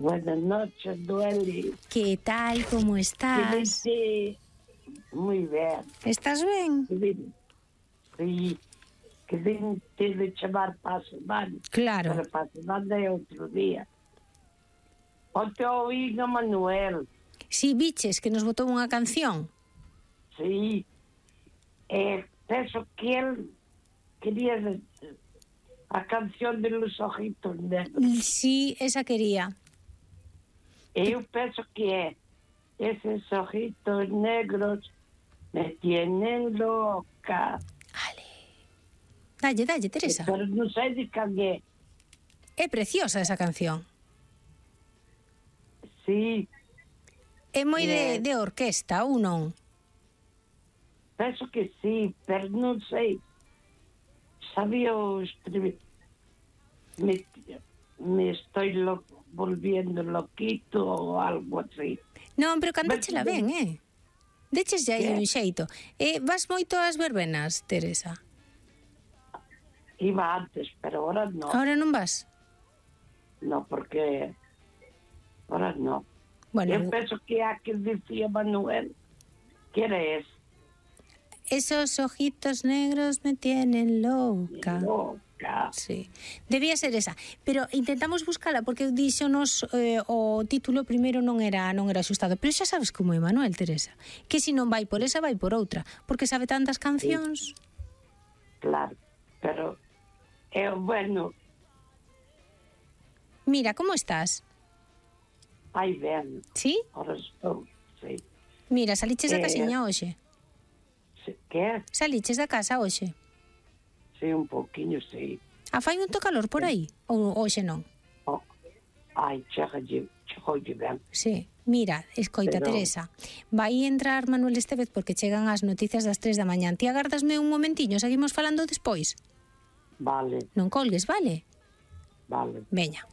Buenas noches, Noeli. Que tal, como estás? Sí, moi ben. Estás ben? Sí, que din de chamar para a semana. Claro. Pero para a semana é outro día. Onte oí a Manuel. Si, biches que nos botou unha canción. Sí. Penso que él quería a canción de Los Ojitos Negros. Sí, esa quería. Eu penso que é esos ojitos negros me tienen loca. Dalle, Teresa. Pero non sei de can é. É preciosa esa canción. Sí. É moi de orquesta, ou non? Penso que sí, pero non sei. Sabía o escribir. Me estoy volviendo loquito ou algo así. Non, pero cantáchela ben, Deches aí un xeito. Vas moito ás verbenas, Teresa? Iba antes, pero ahora no. Ahora non vas? No, porque ahora no. Bueno, eu penso que a que decía Manuel que era ese. Esos ojitos negros me tienen loca. Loca. Sí. Debía ser esa, pero intentamos buscala porque díxonos o título primeiro non era axustado, pero xa sabes como é Manuel, Teresa, que se non vai por esa vai por outra, porque sabe tantas cancións. Sí. Claro, pero bueno. Mira, como estás? Ai, ben. Sí? Ahora estou, sí. Mira, saliches da casiña hoxe? Que? Saliches da casa hoxe? Sí, un pouquiño, sí. Fai moito calor por aí? Ou hoxe non? Ai, chegoulle ben. Sí. Mira, escoita, pero... Teresa, vai entrar Manuel Estevez porque chegan as noticias das 3 da mañá. Ti agardasme un momentiño, seguimos falando despois? Vale. Non colgues, vale? Vale. Veña.